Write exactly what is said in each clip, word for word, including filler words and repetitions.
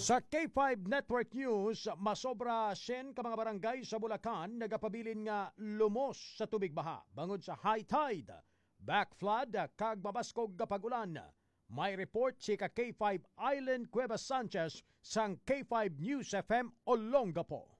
Sa K five Network News, masobra siyam ka mga barangay sa Bulacan nagapabilin nga lumos sa tubig baha bangod sa high tide, back flood, kag mabaskog nga pag-ulan. May report si ka K five Island Cuevas Sanchez sang K five News F M Olongapo.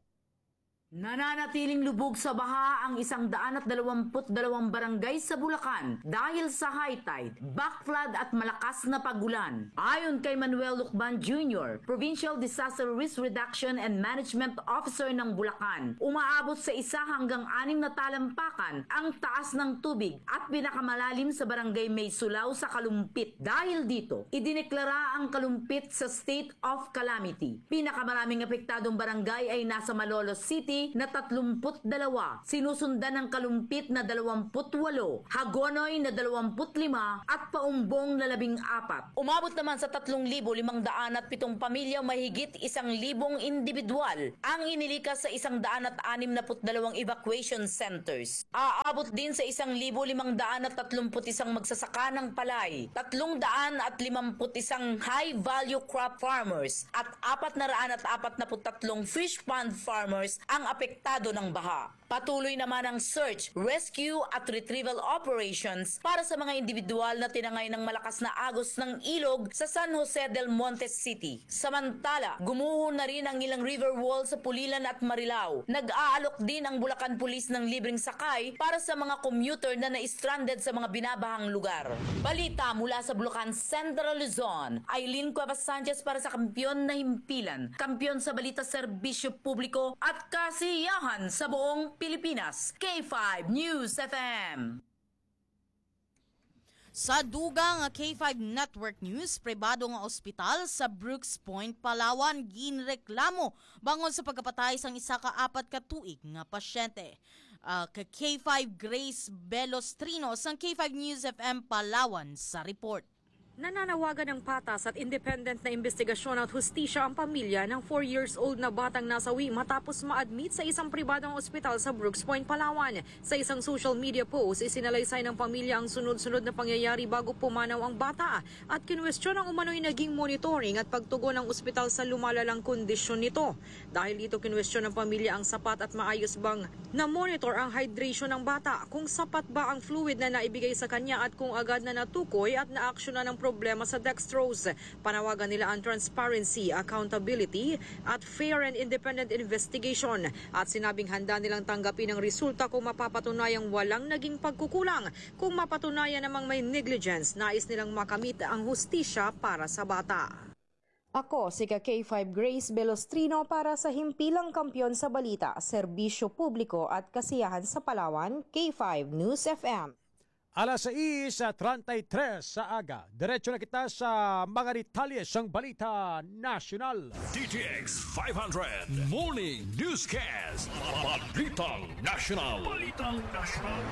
Nananatiling lubog sa baha ang isang daan at dalawampu't dalawang barangay sa Bulacan dahil sa high tide, backflood at malakas na pag-ulan. Ayon kay Manuel Lucban Junior, Provincial Disaster Risk Reduction and Management Officer ng Bulacan, umaabot sa isa hanggang anim na talampakan ang taas ng tubig at pinakamalalim sa barangay May Sulaw sa Kalumpit. Dahil dito, idineklara ang Kalumpit sa state of calamity. Pinakamaraming apektadong barangay ay nasa Malolos City na tatlumpu't dalawa, sinusundan ng Kalumpit na dalawampu't walo, Hagonoy na dalawampu't lima, at Paumbong na labing apat. Umabot naman sa tatlong libo limang daan at pitong pamilya, mahigit isang libong individual ang inilikas sa isang daan at anim na put dalawang evacuation centers. Aabot din sa isang libo limang daan at tatlumpu't isang magsasaka ng palay, tatlong daan at limampu't isang high-value crop farmers at apat na raan at apat na put tatlong fish pond farmers ang apektado ng baha. Patuloy naman ang search, rescue at retrieval operations para sa mga individual na tinangay ng malakas na agos ng ilog sa San Jose del Monte City. Samantala, gumuho na rin ang ilang river wall sa Pulilan at Marilao. Nag-aalok din ang Bulacan Police ng libreng sakay para sa mga commuter na na-stranded sa mga binabahang lugar. Balita mula sa Bulacan, Central Luzon, Aileen Cuevas Sanchez para sa Kampiyon na Himpilan, Kampiyon sa Balita, Serbisyo Publiko at Kasiyahan sa buong Pilipinas, K five News F M. Sa dugang nga K five Network News, pribado nga ospital sa Brooks Point, Palawan, ginreklamo bangod sa pagkapatay sang isa ka apat ka tuig nga pasyente. Ah, ka K five Grace Belostrino sang K five News F M Palawan sa report. Nananawagan ng patas at independent na imbestigasyon at hustisya ang pamilya ng four years old na batang nasawi matapos ma-admit sa isang pribadong ospital sa Brooks Point, Palawan. Sa isang social media post, isinalaysay ng pamilya ang sunod-sunod na pangyayari bago pumanaw ang bata at kinwestiyon ang umano'y naging monitoring at pagtugon ng ospital sa lumalalang kondisyon nito. Dahil dito, kinwestiyon ng pamilya ang sapat at maayos bang na-monitor ang hydration ng bata, kung sapat ba ang fluid na naibigay sa kanya at kung agad na natukoy at naaksyonan ang problema sa dextrose. Panawagan nila ang transparency, accountability, at fair and independent investigation at sinabing handa nilang tanggapin ang resulta kung mapapatunayang walang naging pagkukulang. Kung mapatunayan namang may negligence, nais nilang makamit ang hustisya para sa bata. Ako si ka K five Grace Belostrino para sa Himpilang Kampiyon sa Balita, Serbisyo Publiko at Kasiyahan sa Palawan, K five News F M. Alas sais treinta y tres sa aga, diretso na kita sa mga detalye sang balita nasyonal. D T X five hundred Morning Newscast. Balitang Nasyonal. Balitang Nasyonal.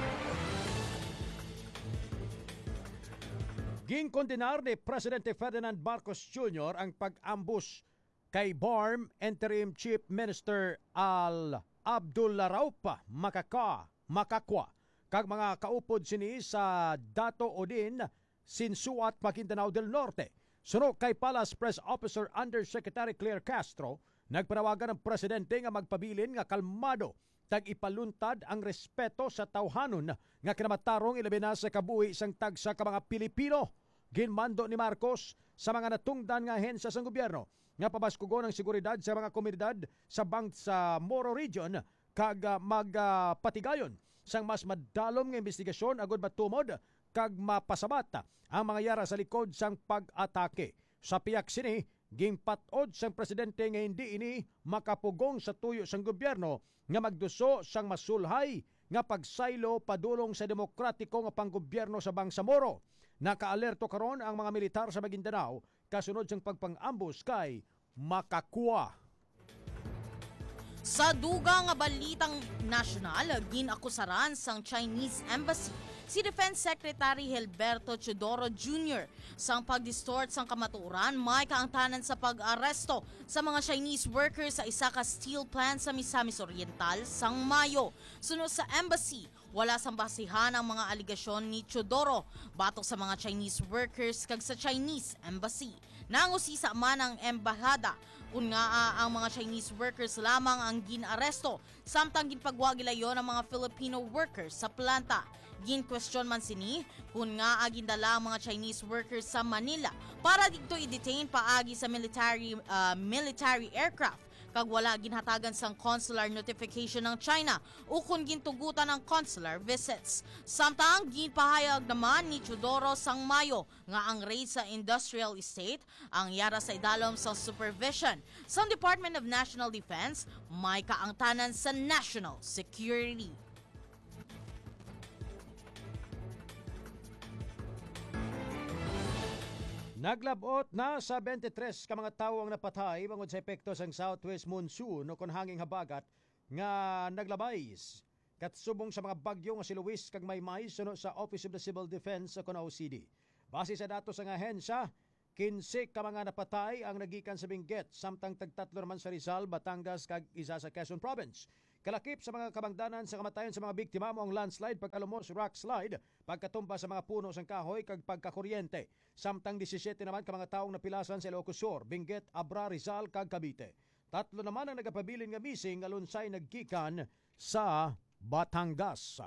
Ginkondenar ni Presidente Ferdinand Marcos Junior ang pag-ambush kay BARMM Interim Chief Minister Al Abdullaraup Makaka, Makakwa kag mga kaupod sini sa Dato Odin, Sinsuat, Maguindanao del Norte. Suno kay Palace Press Officer Undersecretary Claire Castro, nagpanawagan ang presidente nga magpabilin nga kalmado kag ipaluntad ang respeto sa tawhanon nga kinamatarong, ilabi na sa kabuhi sang tagsa ka mga Pilipino. Ginmando ni Marcos sa mga natungdan nga ahensya sang gobyerno nga pabaskugon ang seguridad sa mga komunidad sa Bangsamoro Region kag, ah, mag, ah, patigayon sang mas madalom nga imbestigasyon agud matumod kag mapasabat ang mga yara sa likod sang pag-atake. Sa pihak sini, ginpat-od sang presidente nga hindi ini makapugong sa tuyo sang gobyerno nga magduso sang masulhay nga pagsaylo padulong sa demokratiko nga panggobyerno sa Bangsamoro. Nakaalerto karon ang mga militar sa Maguindanao kasunod sang pagpang-ambush kay Makakwa. Sa dugang nga balitang nasyonal, gin-akusaran sang Chinese Embassy si Defense Secretary Gilberto Teodoro Junior sang pag-distort sang kamatuoran may kaangtanan sa pag-aresto sa mga Chinese workers sa isa ka steel plant sa Misamis Oriental sang Mayo. Suno sa embassy, wala sang basihan ang mga alegasyon ni Teodoro batok sa mga Chinese workers kag sa Chinese Embassy. Nangusisa man ang embahada kon ngaa ang mga Chinese workers lamang ang gin-aresto, samtang ginpagwa gilayon ang mga Filipino workers sa planta. Ginkwestiyon man sini kon ngaa gindala ang mga Chinese workers sa Manila para didto i-detain paagi sa military, ah, military aircraft, kag wala ginhatagan sang consular notification ang China ukon gintugutan ang consular visits. Samtang ginpahayag naman ni Teodoro sang Mayo nga ang raid sa industrial estate ang yara sa idalom sang supervision sang Department of National Defense, may kaangtanan sa national security. Naglab-ot na sa twenty-three ka mga tawo ang napatay bangod sa epekto sang southwest monsoon o kon hanging habagat nga naglabay s-, katsubong sa mga bagyo nga si Luis kag Maymay, suno sa Office of the Civil Defense o kon O C D. Base sa datos sang ahensya, kinse ka mga napatay ang nagikan sa Benguet, samtang tagtatlo naman sa Rizal, Batangas, kag isa sa Quezon Province. Kalakip sa mga kabangdanan sa kamatayon sa mga biktima mao ang landslide, pagkalumos, rock slide, pagkatumba sa mga puno sang kahoy, kag pagkakuryente. Samtang disisiete naman ka mga tawo ang napilasan sa Ilocos Sur, Benguet, Abra, Rizal, kag Cavite. Tatlo naman ang nagapabilin nga missing nga lunsay naggikan sa Batangas.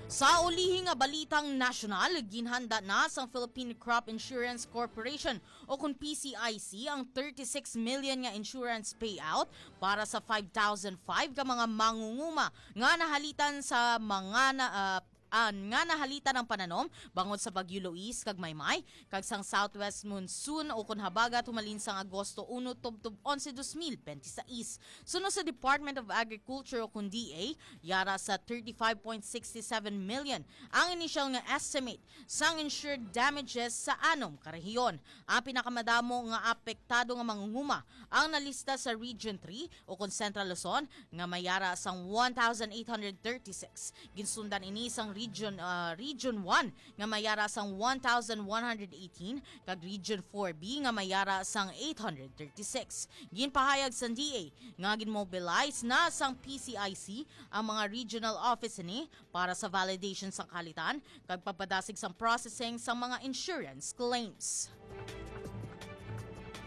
Sa ulihi nga balitang nasyonal, ginhanda na sang Philippine Crop Insurance Corporation o kon P C I C ang thirty-six million nga insurance payout para sa five thousand five ka mga mangunguma nga nahalitan sa mga na, ah, ah, nga nahalitan ang pananom bangod sa Bagyo Luis kag Maymay, kag sang southwest monsoon o kon habagat humalin sang Agosto uno tubtob onse, dos mil benti sais. Suno sa Department of Agriculture o kon D A, yara sa thirty-five point six seven million ang initial nga estimate sang insured damages sa anom ka rehiyon. Ang pinakamadamo nga apektado nga mangunguma ang nalista sa Region three o kon Central Luzon nga may yara sang one thousand eight hundred thirty-six. Ginsundan ini sang Region, ah, Region one nga may yara sang one thousand one hundred eighteen kag Region four B nga may yara sang eight hundred thirty-six. Ginpahayag sang D A nga ginmobilize na sang P C I C ang mga regional office ni para sa validation sang kahalitan kag pagpadasig sang processing sang mga insurance claims.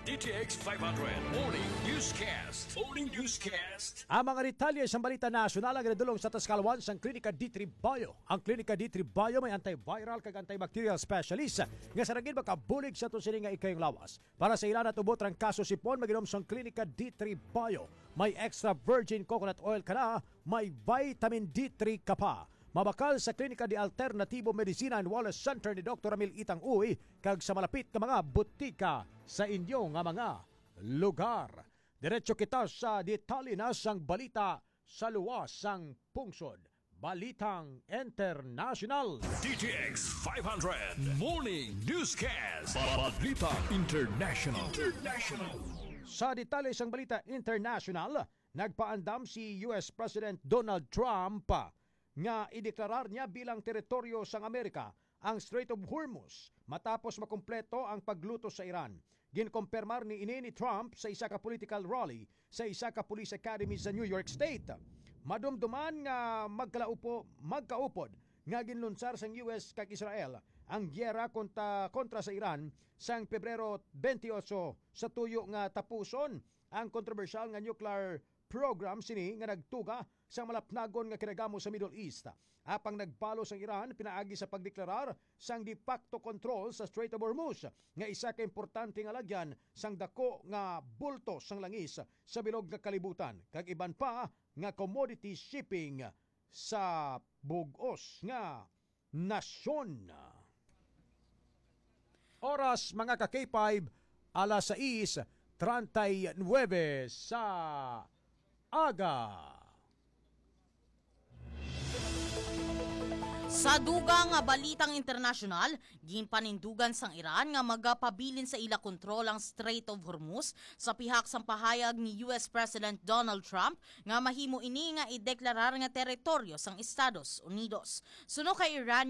D T X five hundred Morning Newscast. Morning Newscast. Ang mga detalye sa balita nasyonal ang ginadulong sa Tascalwan sang Klinika D three Bio. Ang Klinika D three Bio may antiviral kag antibacterial specialist nga sa ragid makabulig sa aton sini nga ikayong lawas. Para sa ila natubot rang kaso sipon, mag-inom sang Klinika D three Bio. May extra virgin coconut oil ka na, may vitamin D three ka pa. Mabakal sa Klinika de Alternativo Medicina and Wellness Center ni Doktor Ramil Itang Uy kag sa malapit nga mga butika sa inyo nga mga lugar. Diretso kita sa detalye na sang balita sa luwas sang pungsod. Balitang Internasyonal. D T X five hundred Morning Newscast. Balita International. International. Sa detalye sang balita international, nagpaandam si U S President Donald Trump nga ideklarar niya bilang teritoryo sang Amerika ang Strait of Hormuz matapos makumpleto ang paglutos sa Iran. Ginkumpirmar ni ini ni Trump sa isa ka political rally sa isa ka police academy sa New York State. Madumduman nga magkalaupo, magkaupod nga ginlunsar sang U S kag Israel ang giyera konta-, kontra sa Iran sang Pebrero twenty-eight sa tuyo nga tapuson ang kontrobersyal nga nuclear program sini nga nagtuga sa malapnagon nga kinagamo sa Middle East. Apang nagbalos ang Iran pinaagi sa pagdeklarar sang de facto control sa Strait of Hormuz, nga isa ka importante nga lagyan sang dako nga bulto sang langis sa bilog nga kalibutan, kag iban pa nga commodity shipping sa bug-os nga nasyon. Oras, mga ka-K five, alas sais treinta y nueve sa aga. Sa dugang nga balitang internasyonal, ginpanindugan sang Iran nga magapabilin sa ila kontrol ang Strait of Hormuz sa pihak sang pahayag ni U S President Donald Trump nga mahimo ini nga ideklarar nga teritoryo sang Estados Unidos. Suno kay Iran,